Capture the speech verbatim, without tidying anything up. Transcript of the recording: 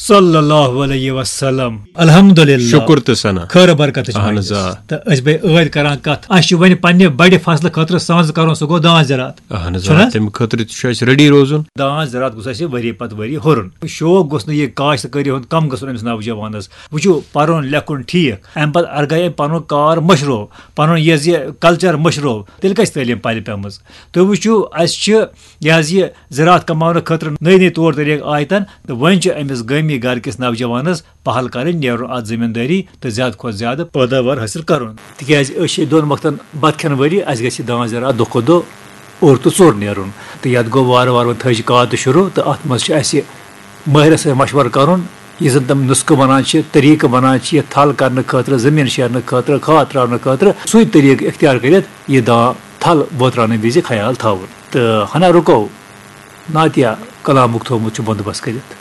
صلی اللہ علیہ وسلم۔ الحمدللہ۔ شکر تہٕ ثنا۔ خٲر برکتٕچ اہن مجلس۔ حظ، آ۔ تہٕ أسۍ بے عٲدۍ کران کتھ، اسہِ چھُ وۄنۍ پننہِ بڑِ فصلہٕ خٲطرٕ سانٛز کرُن، سُہ گوٚو داں زِراعت۔ اہن حظ، چھُنہٕ آ، حظ؟ تمہِ خٲطرٕ تہِ چھُ اسہِ ریڈی روزُن۔ داں زِراعت گوٚژھ اسہِ ؤری پتہٕ ؤری ہُرُن۔ شوق گوٚژھ نہٕ یہِ کاشت کٲری ہُنٛد کم گژھُن أمِس نوجوانس۔ وٕچھِو، پرُن لیکھُن ٹھیٖک، امہِ پتہٕ اگر گٔے أمۍ پنُن کار مٔشرو، پنُن یہِ حظ یہِ کلچر مٔشرو، تیٚلہِ کتہِ چھِ تعلیٖم پرِ پیمٕژ؟ تُہۍ وٕچھِو، اسہِ چھِ یہِ حظ یہِ زِراعت کماونہٕ خٲطرٕ نٔے نٔے طور طریٖقہٕ آیہِ تَن، تہٕ وۄنۍ چھِ أمِس گٲمی گرٕ کِس نوجوانس پہل کرٕنۍ، نیرُن اتھ زٔمیٖندٲری تہٕ زیادٕ کھۄتہٕ زیادٕ پٲداوار حٲصِل کرُن۔ تِکیازِ أسۍ چھِ دۄن وقتن بتہٕ کھٮ۪ن وٲلی، اسہِ گژھِ داں زِراعت دۄہ کھۄتہٕ دۄہ اوٚر تہٕ ژوٚر نیرُن۔ تہٕ یتھ گوٚو وارٕ وارٕ وۄنۍ تھٲج کاد تہِ شروع، تہٕ اتھ منٛز چھُ اسہِ مٲہرس سۭتۍ مشورٕ کرُن، یُس زن تِم نسخہٕ ونان چھِ، طریٖقہٕ ونان چھِ، یہِ تھل کرنہٕ خٲطرٕ، زٔمیٖن شیرنہٕ خٲطرٕ، کھاد ترٛاونہٕ خٲطرٕ، سُے طریٖقہٕ اختیار کٔرِتھ یہِ داں تھل ووتراونہٕ وِزِ خیال تھاوُن۔ تہٕ ہنا رُکو، ناتیہ کلامُک تھوٚومُت چھُ بندوبست کٔرِتھ۔